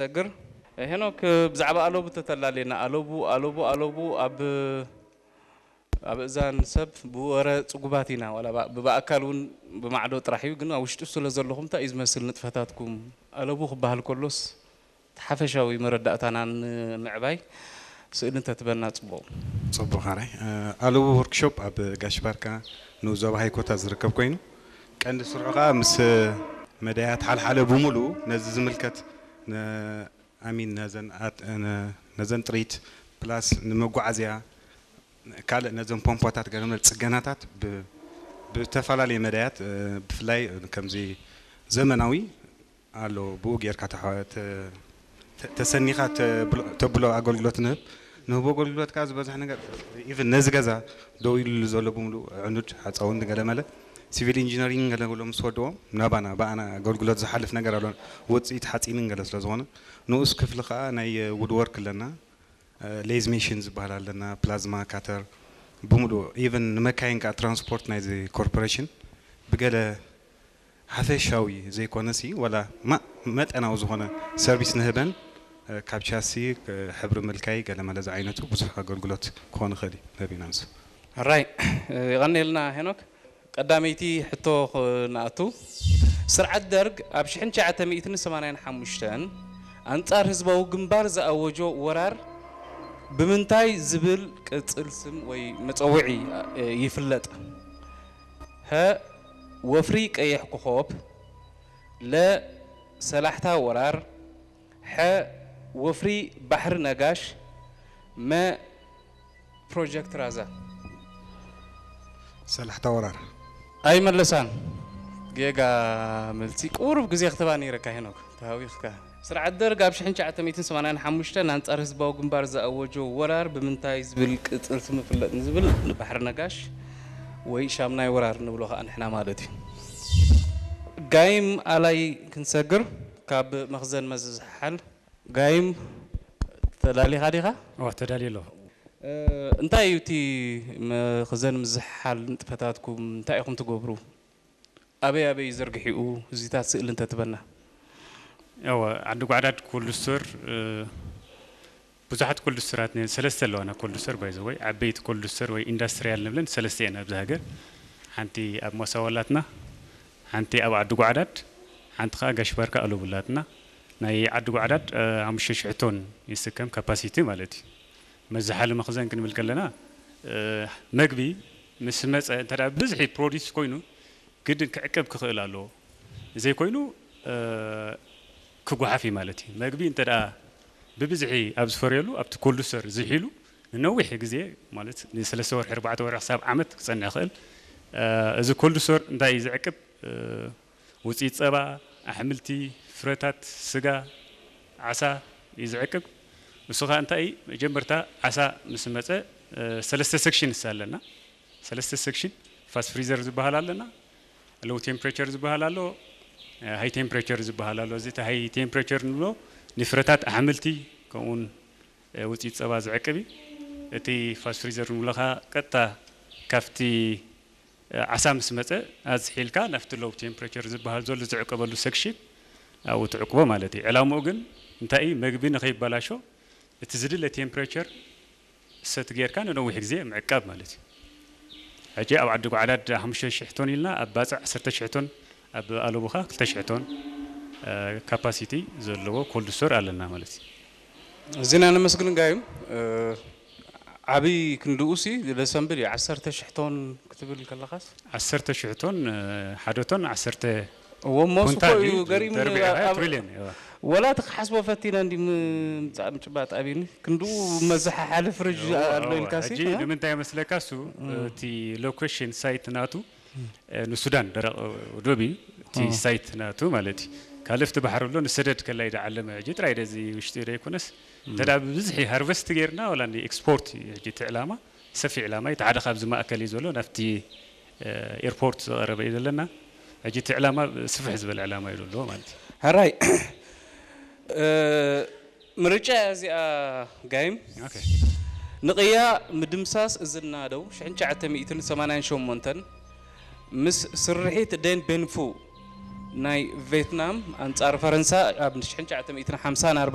ሰግር። ሄኖክ፣ ብዛዕባ ኣለቡ ተተላልየና። ኣለቡ፣ ኣለቡ፣ ኣለቡ ኣብ፣ ኣብ እዛን ሰብ ብወረ ጽጉባት ኢና። ዋላ ባ-፣ ብኣካል እውን ብማዕዶ ጥራሕ እዩ፣ ግን ኣብ ውሽጡ ስለ ዘለኹም እንታይ እዩ ዝመስል ንጥፈታትኩም? ኣለቡ ክበሃል ከሎስ እቲ ሓፈሻዊ መረዳእታና ንምዕባይ ስእሊ እንተትበና ጽቡቕ። ጽቡቕ፣ ሓራይ። እ፣ ኣለቡ ወርክሾፕ ኣብ ጋሽ ባርካ ንኡስ ዞባ ሃይኮታ ዝርከብ ኮይኑ፣ ቀንዲ ስርሑ ከኣ ምስ መዳያት ሓልሓለ ብምሉኡ ነዚ ዝምልከት ን-፣ ኣሚን ነዘን ኣት-፣ ነ-፣ ነዘን ጥሪት ፕላስ ንመጓዓዝያ ካልእ ነዘን ፖምፖታት ገለ መለ ጽገናታት ብ-፣ ብተፈላለየ መዳያት፣ እ፣ ብፍላይ ከምዚ ዘመናዊ ኣሎ፣ ብኡ ጌርካ ተሓ-፣ ተ-፣ ተ-፣ ተሰኒኻ ተብሎ፣ ተብሎ ኣገልግሎት ንህብ። ንህቦ ኣገልግሎት ከኣ ዝበዝሕ ነገር፣ ኢቭን ነዚ ገዛ ደው ኢሉ ዘሎ ብምሉእ ዕኑድ ሓፃውንቲ ገለ መለ ሲቪል ኢንጂነሪንግ ገለ ብሎ ምስ ወድዎም ናባና፣ ብኣና ኣገልግሎት ዝሓልፍ ነገር ኣሎ። ውፅኢት ሓፂንን ገለ ስለ ዝኾነ ንኡስ ክፍሊ ከኣ ናይ ውድወርክ ኣለና፣ እ፣ ሌዝ ሜሽን ዝበሃል ኣለና፣ ፕላዝማ ካተር ብምሉእ፣ ኢቭን ንመካይን ከኣ ትራንስፖርት ናይዚ ኮርፖሬሽን ብገለ ሓፈሻዊ ዘይኮነሲ፣ ዋላ ማ-፣ መጠናዊ ዝኾነ ሰርቪስ ንህበን፣ እ፣ ካብ ቻሲ፣ እ፣ ሕብሪ ምልካይ፣ ገለ መለ ዝዓይነቱ ብዙሕ ኣገልግሎት ክኾን ይኽእል እዩ፣ ነቢና ንሱ። ሕራይ፣ እ፣ የቐንየልና ሄኖክ። ቀዳመይቲ ሕቶ ኽ-፣ ንኣቱ። ስርዓት ደርግ ኣብ ሽሕን ትሽዓተ ሚእትን ሰማንያን ሓሙሽተን ኣንጻር ህዝባዊ ግንባር ዝኣወጆ ወራር ብምንታይ ዝብል ቅጽል ስም ወይ መጸውዒ፣ እ፣ ይፍለጥ? ሀ፣ ወፍሪ ቀይሕ ኮኾብ፣ ለ፣ ሰላሕታ ወራር፣ ሐ፣ ወፍሪ ባሕሪ ነጋሽ፣ መ፣ ፕሮጀክት ራዛ። ሰላሕታ ወራር። ኣይመለሳን። ጌጋ መልሲ። ቁሩብ ግዜ ክትባ ነይረካ ሄኖክ፣ ተሃዊኽካ። ስርዓት ደርግ ኣብ ሽሕን ትሽዓተ ሚእትን ሰማንያን ሓሙሽተን ኣንጻር ህዝባዊ ግንባር ዝኣወጆ ወራር ብምንታይ ዝብል ቅጽል ስም ይፍለጥ ንዝብል ንባሕሪ ነጋሽ ወይ ሻምናይ ወራር ንብሎ ከኣ ንሕና ማለት እዩ። ጋይም ኣላይ ክንሰግር ካብ መኽዘን መዝዝሓል። ጋይም ተዳሊኻ ዲኻ? እዋ፣ ተዳልየ ኣለኹ። እ፣ እንታይ እዩ እቲ መኽዘን ምዝሕሓል ንጥፈታትኩም? እንታይ ኢኹም ትገብሩ? ኣበይ ኣበይ እዩ ዘርግሒኡ? እዚታት ስእሊ እንተትበና። እወ፣ ዓዲ ጓዕዳድ ኮልድ ስቶር፣ እ፣ ብዙሓት ኮልድ ስቶራት እኒሀን፣ ሰለስተ ኣለዋና ኮልድ ስቶር፣ ባይ ዘ ወይ፣ ዓበይቲ ኮልድ ስቶር ወይ ኢንዳስትሪያል ንብለን ሰለስተ እየን ኣብዚ ሃገር። ሓንቲ ኣብ ሞሳዋ ኣላትና፣ ሓንቲ ኣብ ዓዲ ጓዕዳድ፣ ሓንቲ ኸዓ ጋሽ ባርካ ኣለቡ ኣላትና። ናይ ዓዲ ጓዕዳድ፣ እ፣ ሓሙሽተ ሽሕ ቶን ይስከም ካፓሲቲ ማለት እዩ። መዝሓሊ መኽዘን ክንብል ከለና፣ እ፣ መግቢ ምስ መጸ፣ እንተ ደኣ ብብዝሒ ፕሮዲስ ኮይኑ፣ ግድን ክዕቀብ ክኽእል ኣለዎ። ዘይኮይኑ፣ እ፣ ክጓሓፍ እዩ ማለት እዩ። መግቢ እንተ ደኣ ብብዝሒ ኣብ ዝፈርየሉ፣ ኣብቲ ኮልድ ስቶር ዝሒሉ፣ ንነዊሕ ግዜ፣ ማለት ንሰለስተ ወርሒ፣ ኣርባዕተ ወርሒ፣ ክሳብ ዓመት ክጸንሕ ይኽእል። እ፣ እዚ ኮልድ ስቶር እንታይ እዩ ዝዕቅብ? እ፣ ውጽኢት ጸባ፣ ኣሕምልቲ፣ ፍረታት፣ ስጋ፣ ዓሳ እዩ ዝዕቅብ። ንሱ ኸኣ እንታይ እዩ? መጀመርታ ዓሳ ምስ መጸ፣ እ፣ ሰለስተ ሴክሽንስ ኣለና። ሰለስተ ሴክሽን፣ ፋስት ፍሪዘር ዝበሃል ኣለና፣ ሎው ቴምፕሬቸር ዝበሃል ኣሎ፣ እ፣ ሃይ ቴምፕሬቸር ዝበሃል ኣሎ። እዚ እቲ ሃይ ቴምፕሬቸር ንብሎ ንፍረታት ኣሕምልቲ፣ ከምኡውን፣ እ፣ ውጽኢት ጸባ ዝዕቅብ እዩ። እቲ ፋስት ፍሪዘር ንብሎ ኸኣ ቀጥታ ካብቲ፣ እ፣ ዓሳ ምስ መጸ ኣዝሒልካ ናብቲ ሎው ቴምፕሬቸር ዝበሃል ዘሎ ዝዕቀበሉ ሴክሽን ኣብኡ ትዕቅቦ ማለት እዩ። ዕላምኡ ግን እንታይ እዩ? መግቢ ንኸይበላሾ እቲ ዝድለ ቴምፕሬቸር ሰት ጌርካ ንነዊሕ ግዜ ምዕቃብ ማለት እዩ። ሕጂ ኣብ ዓዲ ጓዕዳድ ሓሙሽተ ሽሕ ቶን ኢልና፣ ኣብ ባጽዕ ዓሰርተ ሽሕ ቶን፣ ኣብ ኣለቡኻ ክልተ ሽሕ ቶን፣ እ፣ ካፓሲቲ ዘለዎ ኮልድ ስቶር ኣለና ማለት እዩ። እዚና ነመስግን ጋይም፣ እ፣ ዓብይ ክንድኡሲ ደሰምብል እዩ። ዓሰርተ ሽሕ ቶን ክትብል ከለኻስ? ዓሰርተ ሽሕ ቶን፣ እ፣ ሓደ ቶን ዓሰርተ እዎ፣ ሞስ ኩንታል እኮ እዩ እዩ፣ ገሪሙኒ። ተርቢዑ፣ ኣብ ትሪልዮን እዩ። ወላ እቲ ክሓስቦ ፈቲነ እንዲ ም-፣ ምጻእ ምጭባጥ ኣብዩኒ። ክንድኡ መዘሓሓሊ ፍርጅ እዎ፣ ኣሎ እዎ። ኢልካሲ፣ ሕጂ እ? ንምንታይ መስለካ እሱ፣ እም። እቲ ሎኬሽን ሳይት ናቱ፣ እም። እ፣ ንሱዳን ደረቕ ዶብ እዩ፣ እቲ እዎ። ሳይት ናቱ ማለት እዩ። ካልእ ኣብቲ ባሕሪ ኣሎ፣ ንሰደድ ከላይ ዝዓለመ፣ ሕጂ ጥራይ ደዚ ውሽጢ ዘይኮነስ፣ እም። እንተ ደኣ ብብዝሒ ሃርቨስት ጌርና፣ ወላ ንኤክስፖርት እዩ ሕጂ እቲ ዕላማ። ሰፊሕ ዕላማ እዩ። እቲ ሓደ ካብዚ ማእከል እዩ ዘሎ፣ ናብቲ፣ እ፣ ኤርፖርት ዝቐረበ እዩ ዘለና። ሕጂ እቲ ዕላማ ስፍሕ ዝበለ ዕላማ እዩ ዘለዎ ማለት እዩ። ሕራይ፣ እ፣ ምርጫ እያ እዚኣ ጋይም። ኦኬ። ንቕያ ምድምሳስ እዝና ደው ሽሕን ትሽዓተ ሚእትን ሰማንያን ሸሞንተን ምስ ስርሒት ደን ቤንፉ ናይ ቬትናም ኣንጻር ፈረንሳ ኣብ ሽሕን ትሽዓተ ሚእትን ሓምሳን ኣርባዕተን